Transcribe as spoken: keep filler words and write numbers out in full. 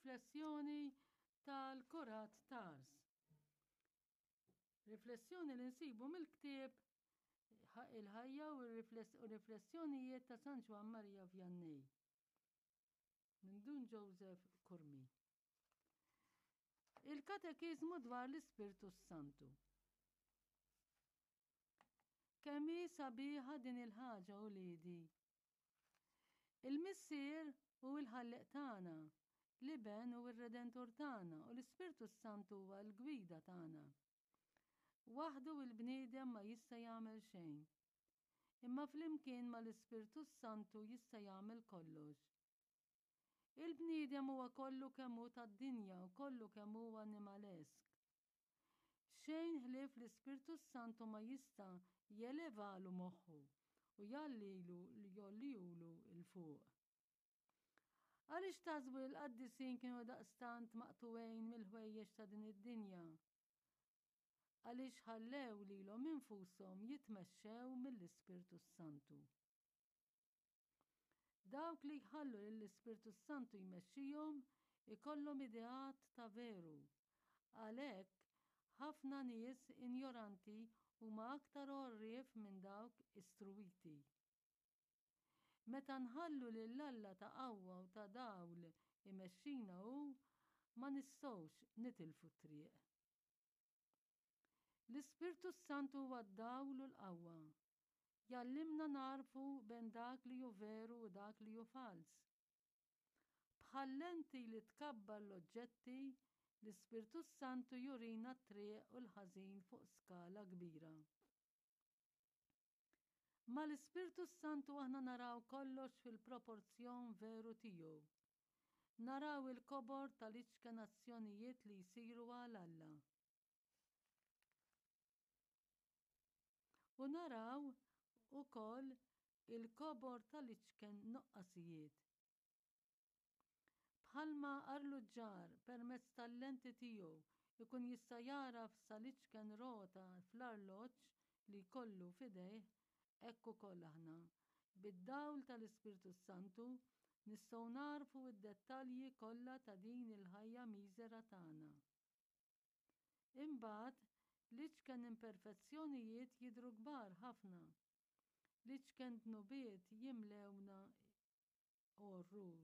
Riflessjoni tal-Kurat t'Ars. Riflessjoni li nsibu mill-ktieb Il-ħajja u r-riflessjonijiet ta' San Ġwann Maria Vianney minn Dun Joseph Curmi. Il-Katekiżmu dwar l-Ispirtu s-Santu. Kemm hi sabiħa din il-ħaġa uliedi! Il-Missier hu l-Ħallieq tagħna, l-Iben hu r-Redentur tagħna u l-Ispirtu s-Santu huwa l-gwida tagħna. Waħdu il-bniedem ma jista' jagħmel xejn. Imma flimkien mal-Ispirtu s-Santu jista' jagħmel kollox. Il-bniedem huwa kollu kemm hu tad-dinja u kollu kemm hu animalesk. Xejn ħlief l-Ispirtu s-Santu ma jista' jelevalu moħħu u jgħallilu jgħollihulu 'l fuq. Għaliex taħsbu li l-qaddisin kienu daqstant maqtugħin mill-ħwejjeġ ta' din id-dinja? Għaliex ħallew lilhom infushom jitmexxew mill-Ispirtu s-Santu. Dawk li jħallu lill-Ispirtu s-Santu jmexxihom ikollhom ideat ta' veru. Għalhekk, ħafna nies injoranti huma aktar għorrief minn dawk istruwiti. Meta nħallu lil Alla ta' qawwa u ta' dawl imexxina hu, ma nistgħux nitilfu t-triq. L-Ispirtu s-Santu huwa d-dawl u l-qawwa. Jgħallimna nagħrfu bejn dak li hu veru u dak li hu falz. Bħal lenti li tkabbar l-oġġetti, l-Ispirtu s-Santu jurina t-triq u l-ħażin fuq skala kbira. Mal-Ispirtu s-Santu aħna naraw kollox fil-proporzjon veru tiegħu. Naraw il-kobor tal-iċken azzjonijiet li jsiru għal Alla. U naraw ukoll il-kobor tal-iċken nuqqasijiet. Bħalma arluġġar permezz tal-lenti tiegħu jkun jista' jagħraf sal-iċken rota fl-arloġġ li jkollu f'idejh, hekk ukoll aħna, bid-dawl tal-Ispirtu s-Santu, nistgħu nagħrfu d-dettalji kollha ta' din il-ħajja miżera tagħna. Imbagħad, l-iċken imperfezzjonijiet jidhru kbar ħafna. L-iċken dnubiet jimlewna orrur.